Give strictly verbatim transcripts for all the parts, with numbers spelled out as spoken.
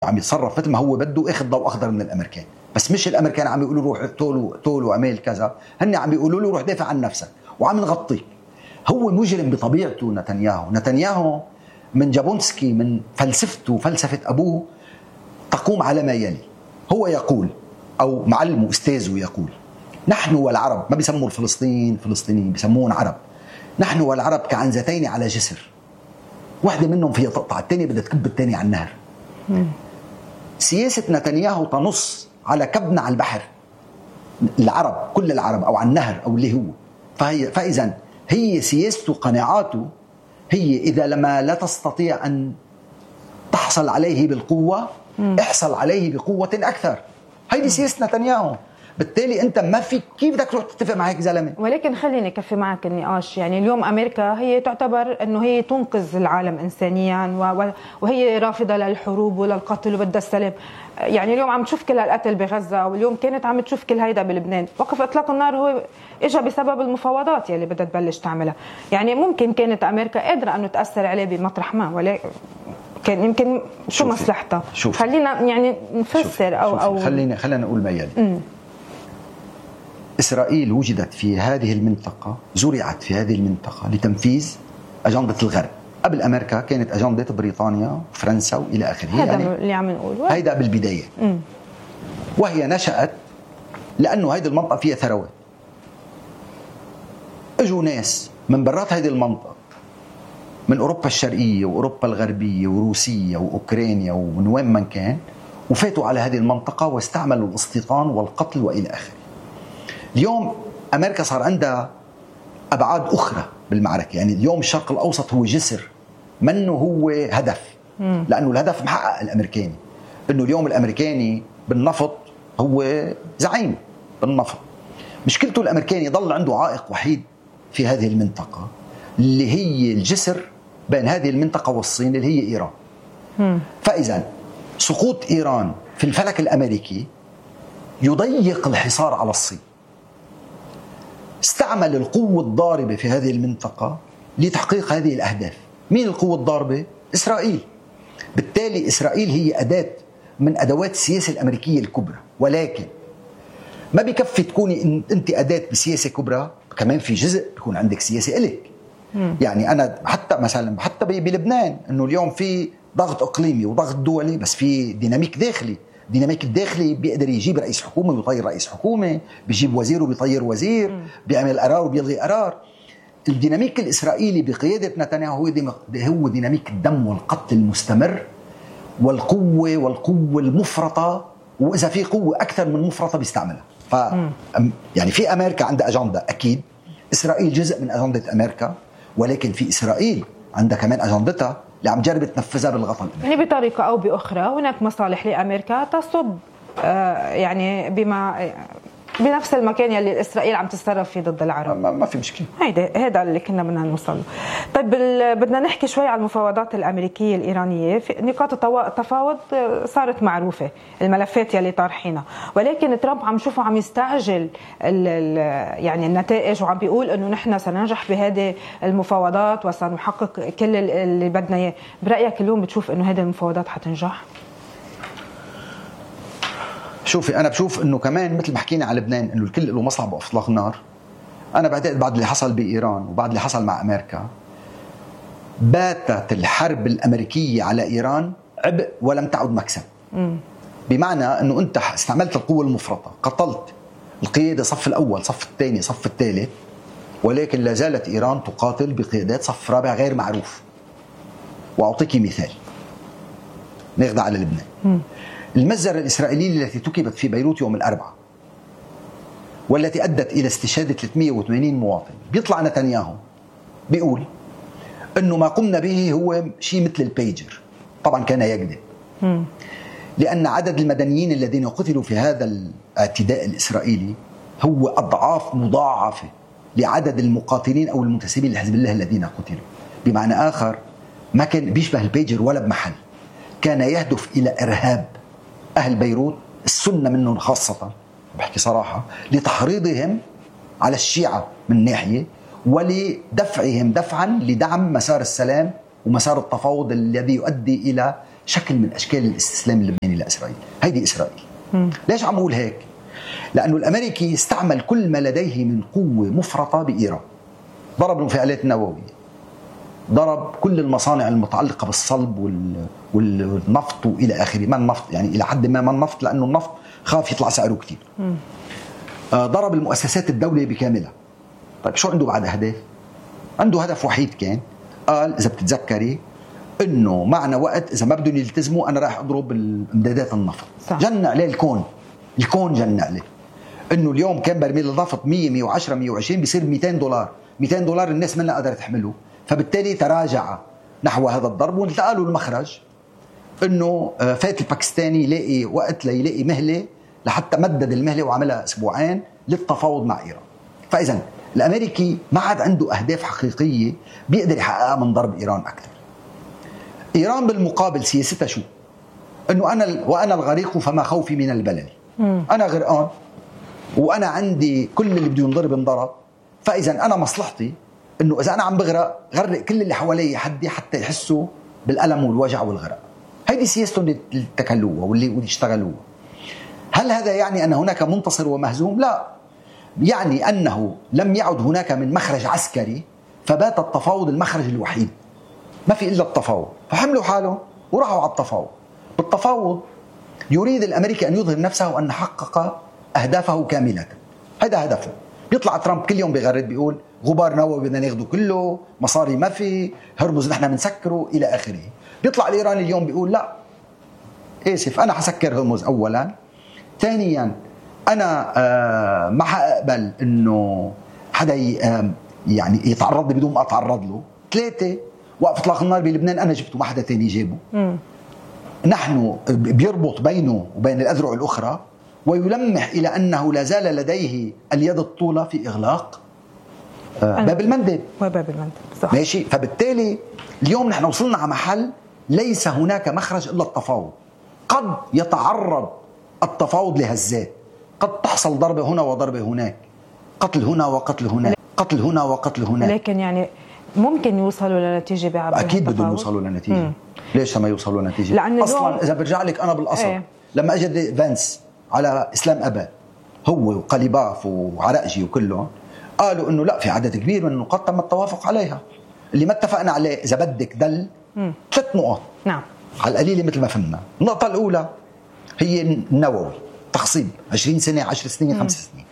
وعم يتصرف مثل ما هو بده، اخذ ضوء اخضر من الامريكان. بس مش الامريكان عم يقولوا روح اقتلوا اقتلوا واعمل كذا، هن عم يقولوا له روح دافع عن نفسك وعم نغطيك. هو مجرم بطبيعته نتنياهو. نتنياهو من جابونسكي، من فلسفته وفلسفه ابوه تقوم على ما يلي. هو يقول، او معلمه استاذه يقول: نحن والعرب، ما بيسموا الفلسطين فلسطينيين، بيسموهم عرب. نحن والعرب كعنزتين على جسر، واحدة منهم فيها تقطع، الثانية بدها تكب الثانية على النهر. مم. سياسة نتنياهو تنص على كبنا على البحر، العرب كل العرب، أو على النهر أو اللي هو. فهي فإذا هي سياسته قناعاته هي إذا لما لا تستطيع أن تحصل عليه بالقوة، مم. احصل عليه بقوة أكثر. هيدي سياسة نتنياهو. بالتالي انت ما في كيف بدك تروح تتفق مع هيك زلمه. ولكن خليني كفي معك النقاش. يعني اليوم امريكا هي تعتبر انه هي تنقذ العالم انسانيا، وهي رافضه للحروب وللقتل وبدها السلام. يعني اليوم عم تشوف كل هالقتل بغزه، واليوم كانت عم تشوف كل هيدا بلبنان. وقف اطلاق النار هو اجى بسبب المفاوضات يلي بدها تبلش تعملها. يعني ممكن كانت امريكا قادره انه تاثر عليه بمطرح ما، ولكن كان يمكن شو مصلحتها. خلينا يعني نفسر شوفي. او شوفي. او خلينا خلينا نقول ما يلي. م. إسرائيل وجدت في هذه المنطقة، زرعت في هذه المنطقة لتنفيذ أجندة الغرب. قبل أمريكا كانت أجندة بريطانيا وفرنسا وإلى آخره. هذا يعني اللي عم نقوله، هيدا بالبداية. م. وهي نشأت لأنه هذه المنطقة فيها ثروات. اجوا ناس من برات هذه المنطقة، من أوروبا الشرقية وأوروبا الغربية وروسيا وأوكرانيا ومن وين من كان، وفاتوا على هذه المنطقة واستعملوا الاستيطان والقتل وإلى آخره. اليوم أمريكا صار عندها أبعاد أخرى بالمعركة. يعني اليوم الشرق الأوسط هو جسر، منه هو هدف. مم. لأنه الهدف محقق الأمريكاني، أنه اليوم الأمريكاني بالنفط هو زعيم بالنفط. مشكلته الأمريكاني ضل عنده عائق وحيد في هذه المنطقة، اللي هي الجسر بين هذه المنطقة والصين، اللي هي إيران. مم. فإذا سقوط إيران في الفلك الأمريكي يضيق الحصار على الصين. استعمل القوة الضاربة في هذه المنطقة لتحقيق هذه الأهداف. مين القوة الضاربة؟ إسرائيل. بالتالي إسرائيل هي أداة من أدوات السياسة الأمريكية الكبرى، ولكن ما بكفي تكوني أنت أداة بسياسة كبرى، كمان في جزء بيكون عندك سياسة إلك. يعني أنا حتى مثلا حتى بلبنان أنه اليوم في ضغط إقليمي وضغط دولي، بس في ديناميك داخلي. ديناميك الداخلي بيقدر يجيب رئيس حكومة ويطير رئيس حكومة، بيجيب وزير وبيطير وزير، م. بيعمل قرار وبيلغي قرار. الديناميك الإسرائيلي بقيادة نتنياهو هو ديناميك الدم والقتل المستمر والقوة والقوة المفرطة، وإذا في قوة أكثر من مفرطة بيستعملها. ف يعني في أمريكا عندها أجندة، أكيد إسرائيل جزء من أجندة أمريكا، ولكن في إسرائيل عندها كمان أجندتها اللي عم جرب تنفذها بالغطاء. يعني بطريقة أو بأخرى هناك مصالح لأمريكا تصب يعني بما بنفس المكان يلي إسرائيل عم تتصرف فيه ضد العرب. ما, ما في مشكلة. هيدا هذا اللي كنا بدنا نوصله. طيب بدنا نحكي شوي عن المفاوضات الأمريكية الإيرانية. في نقاط التفاوض صارت معروفة، الملفات يلي طارحينها، ولكن ترامب عم شوفه عم يستعجل يعني النتائج، وعم بيقول إنه نحن سننجح بهذه المفاوضات وسنحقق كل اللي بدنا إياه. برأيك اليوم بتشوف إنه هذه المفاوضات حتنجح؟ شوفي، أنا بشوف إنه كمان مثل ما حكينا على لبنان إنه الكل له مصلحة بإطلاق النار. أنا بعتقد بعد اللي حصل بإيران وبعد اللي حصل مع أمريكا، باتت الحرب الأمريكية على إيران عبء ولم تعد مكسب. م. بمعنى إنه أنت استعملت القوة المفرطة، قتلت القيادة صف الأول، صف الثاني، صف الثالث، ولكن لا زالت إيران تقاتل بقيادات صف رابع غير معروف. وأعطيك مثال ناخذ على لبنان. م. المجزرة الإسرائيلية التي تكبت في بيروت يوم الأربعاء والتي أدت إلى استشهاد ثلاثمئة وثمانين مواطن، بيطلع نتنياهو بيقول أنه ما قمنا به هو شيء مثل البيجر. طبعا كان يكذب، لأن عدد المدنيين الذين قتلوا في هذا الاعتداء الإسرائيلي هو أضعاف مضاعفة لعدد المقاتلين أو المنتسبين لحزب الله الذين قتلوا. بمعنى آخر ما كان بيشبه البيجر ولا بمحل، كان يهدف إلى إرهاب أهل بيروت، السنة منهم خاصة، بحكي صراحة، لتحريضهم على الشيعة من ناحية، ولدفعهم دفعا لدعم مسار السلام ومسار التفاوض الذي يؤدي إلى شكل من أشكال الاستسلام اللبناني لإسرائيل. هيدي إسرائيل. م. ليش عم أقول هيك؟ لأنه الأمريكي استعمل كل ما لديه من قوة مفرطة بإيران. ضرب المفاعلات النووية، ضرب كل المصانع المتعلقة بالصلب والنفط وإلى آخره. ما النفط يعني إلى حد ما ما النفط، لأنه النفط خاف يطلع سعره كتير. آه ضرب المؤسسات الدولية بكاملها. طيب شو عنده بعد أهداف؟ عنده هدف وحيد كان، قال إذا بتتذكري إنه معنا وقت إذا ما بدهم يلتزموا أنا راح أضرب امدادات النفط. جن عليه الكون، الكون جن عليه إنه اليوم كان برميل النفط مية مية وعشرة مية وعشرين بيصير مئتين دولار. مئتين دولار الناس منها قادرة تحمله، فبالتالي تراجع نحو هذا الضرب. وانتقى له المخرج انه فات الباكستاني يلاقي وقت ليلاقي مهله، لحتى مدد المهله وعملها اسبوعين للتفاوض مع ايران. فاذا الامريكي ما عاد عنده اهداف حقيقيه بيقدر يحققها من ضرب ايران اكثر. ايران بالمقابل سياستها شو؟ انه انا وانا الغريق فما خوفي من البلل. انا غرقان وانا عندي كل اللي بده ينضرب انضرب، فاذا انا مصلحتي انه اذا انا عم بغرق غرق كل اللي حوالي حدي حتى يحسوا بالالم والوجع والغرق. هيدي سياستهم اللي اتكلوها واللي اشتغلوها. هل هذا يعني ان هناك منتصر ومهزوم؟ لا، يعني انه لم يعد هناك من مخرج عسكري، فبات التفاوض المخرج الوحيد، ما في الا التفاوض. فحملوا حالهم وراحوا على التفاوض. بالتفاوض يريد الامريكي ان يظهر نفسه وان حقق اهدافه كامله. هذا هدفه. بيطلع ترامب كل يوم بيغرد بيقول غبار نووي بدنا ناخده كله، مصاري ما في، هرمز نحن بنسكره الى اخره. بيطلع الايراني اليوم بيقول لا اسف انا حسكر هرمز اولا، ثانيا انا آه ما حقبل انه حدا يعني يتعرض لي بدون ما اتعرض له، ثلاثه وقف اطلاق النار بلبنان انا جبته ما حدا ثاني جابه. م. نحن بيربط بينه وبين الاذرع الاخرى ويلمح الى انه لا زال لديه اليد الطولة في اغلاق آه باب المندب. وباب المندب صح. ماشي. فبالتالي اليوم نحن وصلنا على محل ليس هناك مخرج الا التفاوض. قد يتعرض التفاوض لهزات، قد تحصل ضربة هنا وضربة هناك، قتل هنا وقتل هناك، قتل هنا وقتل هناك. لكن يعني ممكن يوصلوا لنتيجة بعد أكيد بدهم يوصلوا لنتيجة. مم. ليش ما يوصلوا لنتيجة؟ أصلا إذا برجع لك أنا بالأصل ايه؟ لما أجد فانس على إسلام أباد هو وقليباف وعرقجي وكلهم قالوا إنه لا في عدد كبير من النقاط تم التوافق عليها. اللي ما اتفقنا عليه إذا بدك دل مم. ثلاث نقاط. نعم. على القليل مثل ما فهمنا. النقطة الأولى هي النووي، تخصيب عشرين سنة عشر سنين خمس سنين.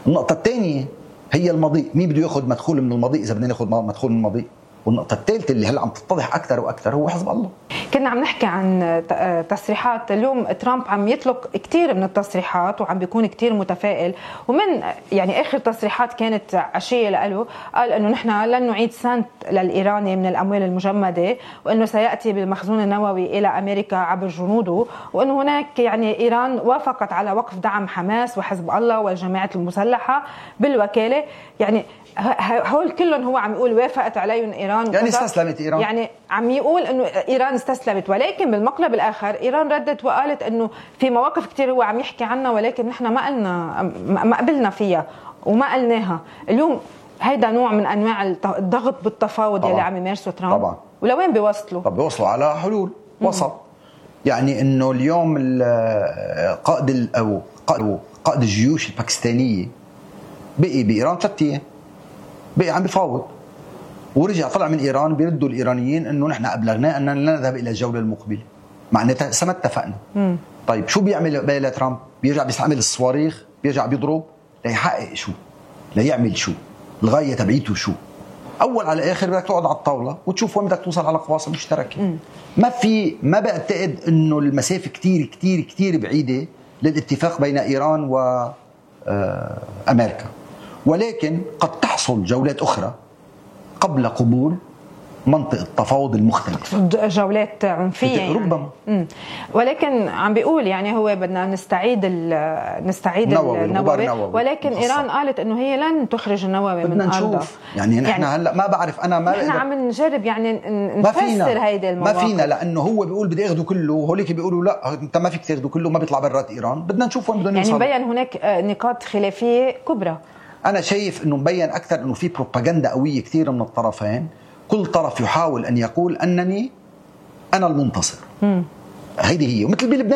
النقطة الثانية هي المضيء، مين بده ياخذ مدخول من المضيء إذا بدنا ناخذ مدخول من المضيء. والنقطة الثالثة اللي هلا عم تتضح أكثر وأكثر هو حزب الله. كنا عم نحكي عن تصريحات اليوم، ترامب عم يطلق كثير من التصريحات وعم بيكون كثير متفائل، ومن يعني آخر تصريحات كانت عشية له قال إنه نحن لن نعيد سنت للإيراني من الأموال المجمدة، وإنه سيأتي بالمخزون النووي إلى أمريكا عبر جنوده، وإنه هناك يعني إيران وافقت على وقف دعم حماس وحزب الله والجماعات المسلحة بالوكالة. يعني هول كلهم هو عم يقول وافقت عليهم إيران، يعني استسلمت إيران، يعني عم يقول إنه إيران استسلمت. ولكن بالمقلب الآخر إيران ردت وقالت إنه في مواقف كتير هو عم يحكي عنها ولكن نحن ما قلنا ما قبلنا فيها وما قلناها. اليوم هيدا نوع من أنواع الضغط بالتفاوض اللي عم يمارسه ترامب. طبعا. ولوين بيوصلوا؟ طب بيوصلوا على حلول وسط. يعني إنه اليوم القائد أو قائد الجيوش الباكستانية بقي بإيران ثلاثة أيام، بقي عم بيفاوض، ورجع طلع من إيران بيردوا الإيرانيين إنه نحن أبلغنا أننا لا نذهب إلى الجولة المقبلة، معناتها سما اتفقنا. مم. طيب شو بيعمل بقى ترامب؟ بيرجع بيستعمل الصواريخ، بيرجع بيضرب ليحقق شو؟ ليعمل شو؟ الغاية تبعيته شو؟ أول على آخر بدك تقعد على الطاولة وتشوف وين بدك توصل على قواصم مشتركة. مم. ما في ما بعتقد إنه المسافة كتير كتير كتير بعيدة للاتفاق بين إيران وأمريكا، ولكن قد تحصل جولات أخرى قبل قبول منطقة التفاوض المختلف، جولات عنفية يعني. ربما. مم. ولكن عم بيقول يعني هو بدنا نستعيد نستعيد النووي, النووي. ولكن مخصر. إيران قالت إنه هي لن تخرج النووي من أرضها. يعني نحن يعني هلا ما بعرف أنا ما نحن عم نجرب يعني نفسر هيدا المواقف. ما فينا، لأنه هو بيقول بدي أخذه كله وهوليك بيقولوا لا أنت ما فيك تاخده كله، ما بيطلع برات إيران. بدنا نشوف وين بدهم يوصلوا. يعني مبين هناك نقاط خلافية كبرى. أنا شايف إنه مبين أكثر إنه في بروباغندا قوية كثير من الطرفين. كل طرف يحاول أن يقول أنني انا المنتصر. مم. هيدي هي. ومثل بلبنان